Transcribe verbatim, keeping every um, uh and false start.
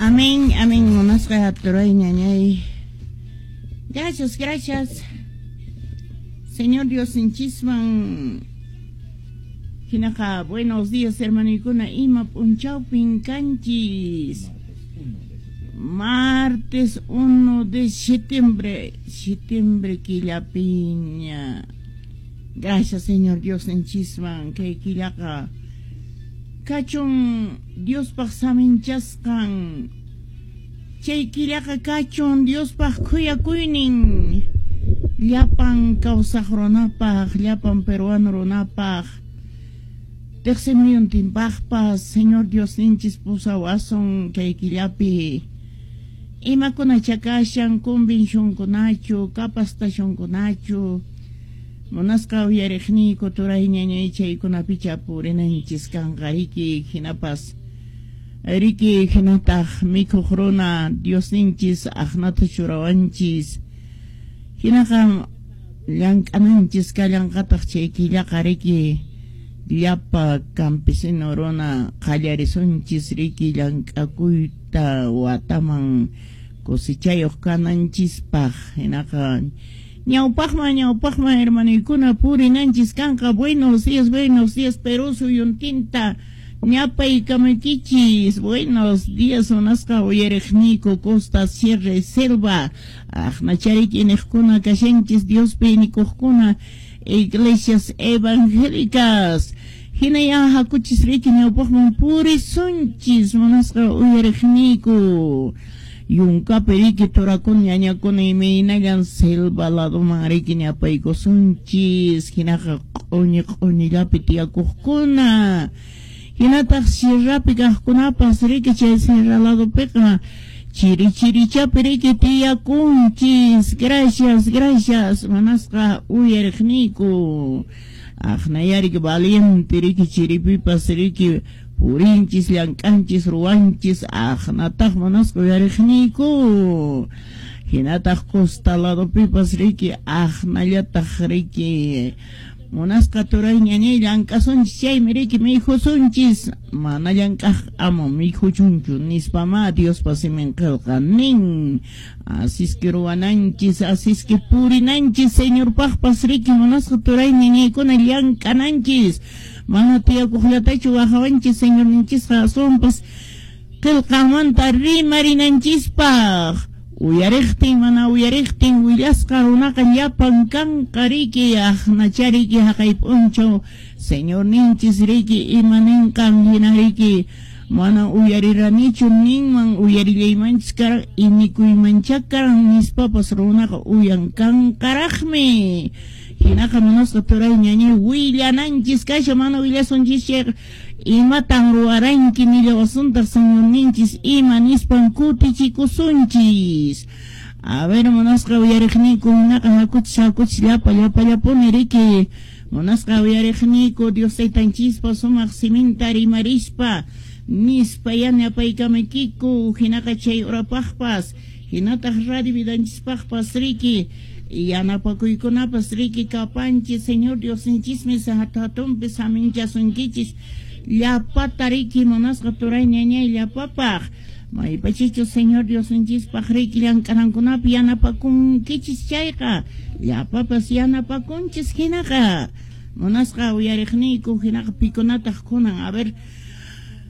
Amén, amén. Munasqa turay ñañay. Gracias, gracias. Señor Diosninchisman. Hinaqa, buenos días, hermanuykuna. Ima p'unchawpin kanchis. Martes uno de septiembre, septiembre killapiña. Gracias, Señor Diosninchisman, kay killaqa kachun Diospaq saminchasqan. Chay killaqa kachun Diospaq khuyakuynin. Llapan kawsaq runapaq, llapan peruano runapaq. Tiqsimuyuntinpaqpas, Señor Diosninchis pusawasun kay killapi. Imakuna chakashan convencionkunachu, capacitacionkunachu, munasqa uyariqniyku turay ñañay chaykunapicha purinanchis kanqa riki, hinapas riki hinataq mikhuq runa Diosninchis aqnata churawanchis, hinaqa llank'ananchis kallanqataq chay killaqa riki llapa campesino runa qallarisunchis riki llank'akuyta wataman cosechayuq kananchispaq. Hinaqa ñawpaqman ñawpaqman hermanuykuna purinanchis kanqa. Buenos días, buenos días, Perú suyuntinta ñapaykamaykichis. Buenos días, munasqa uyariqniyku costa, sierra y selva. Aqnachariki niqkuna kashanchis Diospi nikuqkuna, iglesias evangélicas. Hinaya hakuchis riki ñawpaqman purisunchis munasqa uyariqniyku. Yunkapi riki turakuna ñañakuna imaynallan selva ladoman riki ñapaykusunchis. Hinaqa q'uñi q'uñillapi tiyakuqkuna. Hinataq sierrapi kaqkunapas riki chay sierra ladopiqa chiri chirichapi riki tiyakunchis. Gracias, gracias, munasqa uyariqniyku. Aqnayariki valiente riki chiripipas riki purinchis, llank'anchis, ruwanchis. Aqnataq munasqa uyariqniyku. Hinataq costa ladopipas riki aqnallataq riki munasqa turay ñañay llank'asunchis chaymi riki mikhusunchis. Mana llank'aq ama mikhuchunchu nispama Diospa simin qillqa nin. Asisque ruwananchis, asisque purinanchis Señorpaqpas riki munasqa turay ñañaykuna llank'ananchis. Mana tiyakuqllatachu wajawanchis Señorninchisqa aswanpas qillqamanta rimarinanchispaq. Uyariqtin mana uyariqtin willasqa runaqa llapan kanqa riki aqnachariki haqay p'unchaw Señorninchis riki ima ninqan hina riki mana uyariranichu ninman uyarillaymanchis karan inikuymancha karan nispapas runaqa uyan kanqaraqmi. Hinaqa munasqa turay ñañay willananchis kasha mana willasunchis chayqa imatan ruwaranki nillawasuntaq Señorninchis ima nispan kutichikusunchis. A ver, munasqa uyariqniyku hinaqa hakuchis hakuchis llapa llapallapuni riki munasqa uyariqniyku Dios taytanchispa sumaq siminta rimarispa nispa yanapaykamaykiku. Hinaqa chay urapaqpas hinataq radio vidanchispaqpas riki yanapakuykunapas riki kapanchis. Señor Diosninchismi hatunpi saminchasunkichis llapata riki munasqa turay ñañay llapapaq. Maypachichu Señor Diosninchispaq riki llank'anankunapi yanapakunkichis chayqa llapapas yanapakunchis hinaqa munasqa uyariqniyku hinaqa pikunataq kunan. A ver,